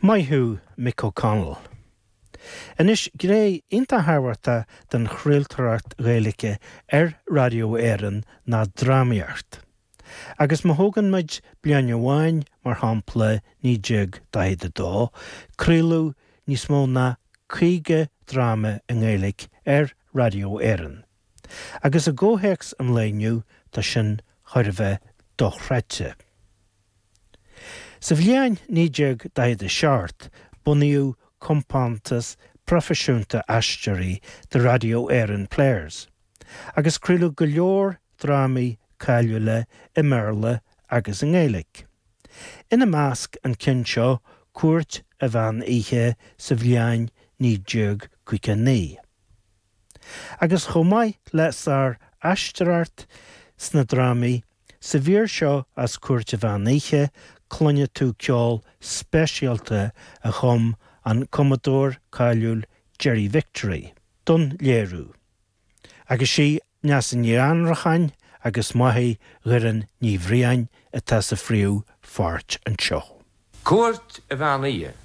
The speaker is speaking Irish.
Maith thú, Mick O'Connell. Anois, gné iontach thábhachtach den chraoltóireacht Ghaeilge ar Raidió Éireann ná drámaíocht. Agus má thógann muid bliain amháin, mar shampla 1942, craoladh níos mó ná 50 dráma i nGaeilge ar Raidió Éireann. Agus i gcomhthéacs an lae inniu, tá sin chóir a bheith dochreidte. Sa bhliain 1947, bunaíodh compántas proifisiúnta aisteoirí The Radio Éireann Players, agus craoladh go leor drámaí cáiliúla i mBéarla agus i nGaeilge. Ina measc an ceann seo, Cúirt an Mheán Oíche sa bhliain 1959. Agus chomh maith le sár-aisteoireacht sna drámaí, sa mhír seo as Cúirt an Mheán Oíche cluinfidh tú ceol speisialta a chum an cumadóir cáiliúil Gerry Victory don léiriú. Agus sí Neasa Ní Annracháin agus Máire Dhoireann Ní Bhriain atá sa phríomh pháirt anseo. Cúirt an Mheán Oíche.